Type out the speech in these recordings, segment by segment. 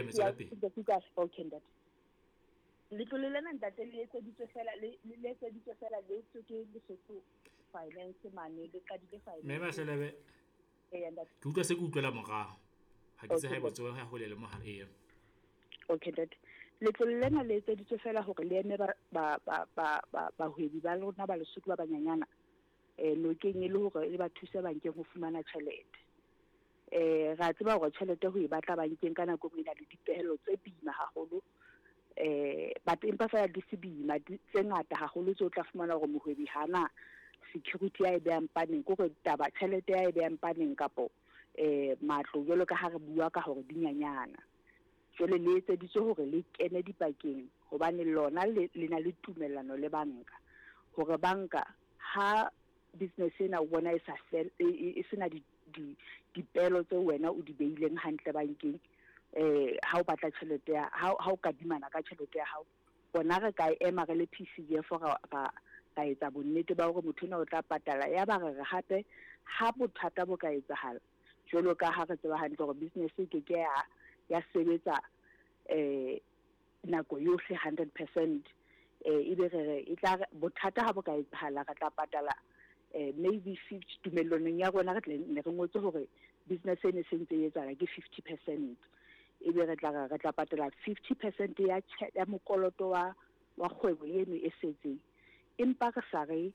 Mme tswela pele. Okay ntate. Letlole lena ntate le etseditswe fela le le etseditswe fela le tswe ke Lesotho Finance mane le qadile finance. Mme Mahlelebe. Eya ntate. Ke utlwa se ke utlwela morao. Ha ke tse Okay haeba ntate. tsoha hole le mohala. Eya. Okay ntate. Letlole lena le etseditswe fela hore le eme ba ba ba ba ba bahwebi ba lona ba Lesotho ba banyanyana nokeng e le hore le ba thuse bankeng ho fumana tjhelete. Ra tseba hore tjhelete ho e batla bankeng ka nako e nngwe e na le dipehelo tse boima haholo. But empa fela di se boima tse ngata haholo tseo tla fumana hore mohwebi hana security ya e behang paneng, ke hore taba tjhelete ya e behang paneng kapo matlo jwalo ka ha re bua ka hore di nyanyana. Jwale le etseditswe hore le kene dipakeng hobane lona le le na le tumellano le banka hore banka ha business ena o bona e sa fel e sena di di dipelo tseo wena o di beileng hantle bankeng, ha o batla tjhelete ya ha ha o kadimana ka tjhelete ya hao, rona re ka ema re le PCF ra ra ra etsa bonnete ba hore motho enwa o tla patala. Ya ba re re hape ha bothata bo ka etsahala jwalo ka ha re tseba hantle hore business e ke ke ya ya sebetsa nako yohle 100%, ebe re re e tla bothata ha bo ka etsahala re tla patala maybe 50 tumellanong ya rona re tle ne re ngotse hore business e ne se ntse e etsahala ke 50%, ebe re tla re tla patala 50% ya ya mokoloto wa wa kgwebo eno e setseng, empa re sa re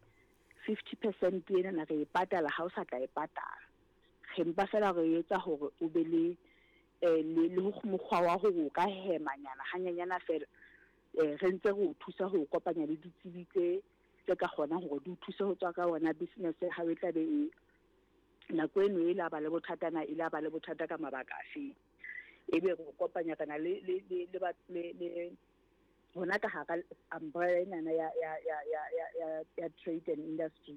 50% ena re e patala ha o sa tla e patala, re mpa fela re etsa hore o be le le le mokgwa wa hore o ka hemanyana hanyanyana fela, re ntse re o thusa ho kopanya le ditsebi tse tse ka kgonang hore di o thuse ho tswa ka wona business ya hao e tla be e nako eno e la ba le bothata na e la ba le bothata ka mabaka afeng, ebe re o kopanya re na le le le le le le hona ka hara umbrella enana ya ya ya ya ya ya ya trade and industry,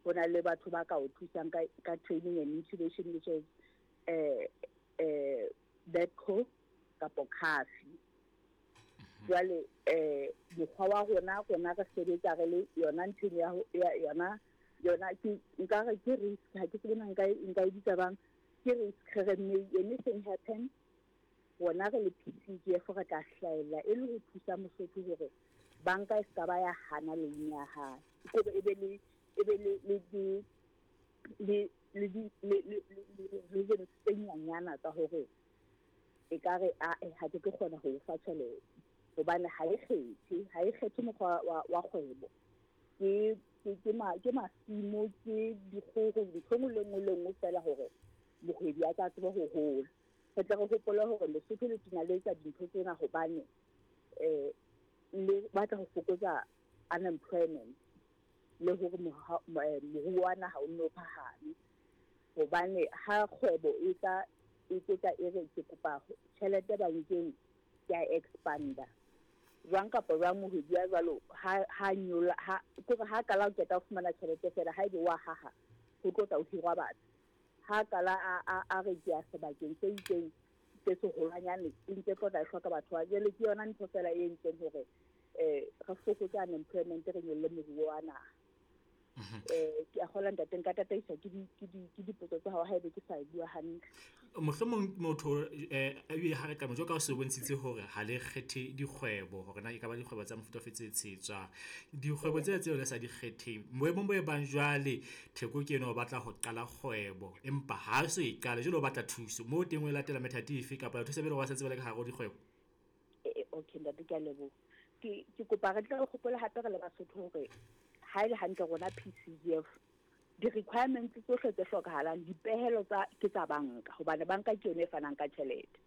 ho na le batho ba ka o thusang ka ka training and incubation, which is BETCO kapo CAFI. Jwale mokgwa wa rona rona re sebetsa re le yona nthong ya ya yona yona ke nka re ke risk, ha ke tsebe na nka nka e bitsa bang, ke risk re re may anything happen, rona re le PCGF re tla hlahella e le ho thusa Mosotho hore banka e ska ba ya hana loan ya hae, kore e be le e be le le le le le le le le reasons tse nyanyana tsa hore e ka re ae ha ke tlo kgona ho o fa tjhelete hobane ha e kgethe, ha e kgethe mokgwa wa wa kgwebo, ke ke ke ma ke masimo, ke dikgoho, ntho e nngwe le nngwe le nngwe fela hore mohwebi a tla tsebe ho hola. Re tle re hopole hore Lesotho le tena le etsa dintho tsena hobane le batla ho fokotsa unemployment le hore moruo wa naha o nne o phahame, hobane ha kgwebo e tla e tla e re ke kopa tjhelete bankeng ke a expanda jwang kapa jwang, mohwebi ya jwalo ha ha nyolla ha kore ha qala ho qeta ho fumana tjhelete fela, ha ebe wa haha ho tlo tla o hirwa batho, ha qala a a a re ke ya sebakeng se itseng se seholwanyane e ntse tlo tla e hloka batho ba jwale, ke yona ntho fela e entseng hore re fokotse unemployment, re nyolle moruo wa naha. Ke a kgolwa ntate nka tataiswa ke di ke di ke dipotso tsa hao haebe ke sa e bua hantle. Mohlomong motho ebile ha re ka jwalo ka o se bontshitse hore ha le kgethe dikgwebo hore na e ka ba dikgwebo tsa mofuta ofe tse tshehetswang. Dikgwebo tsena tseo le sa di kgetheng boemong bo e bang jwale Theko ke enwa o batla ho qala kgwebo, empa ha so e qale jwale o batla thuso moo teng o latela methati efe kapa thusa pele ba sentse ba le ka hare ho dikgwebo? Okay ntate, ke a leboha. Ke ke kopa re tle re hopole hape re le Basotho hore ha ele hantle rona PCGF di-requirements tsohle tse hlokahalang, dipehelo tsa ke tsa banka hobane banka ke yona e fanang ka tjhelete.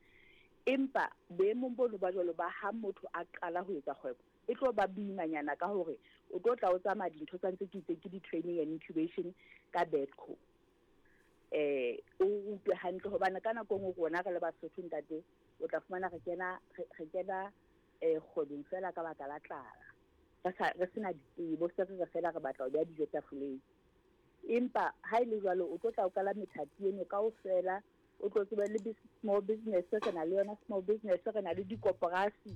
Empa boemong bono ba jwalo ba ha motho a qala ho etsa kgwebo e tlo ba boimanyana ka hore o tlo tla o tsamaya dintho tsa ntse ke itse ke di-training and incubation ka BETCO. O rutwe hantle hobane ka nako e nngwe rona re le Basotho ntate o tla fumana re kena re kena kgwebong fela ka baka la tlala, re sa re sena ditsebo, se re re fela re batla ho beha dijo tafoleng. Empa ha e le jwalo o tlo tla o qala methati eno kaofela, o tlo tsebe le small business, re na le yona small business, re na le dikoporasi,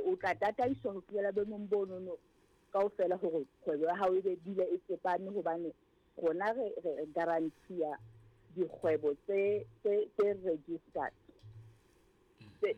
o tla tataiswa ho fihlela boemong bonono kaofela hore kgwebo ya hao e be dule e tsepame, hobane rona re re guarantee dikgwebo tse tse tse registered tse.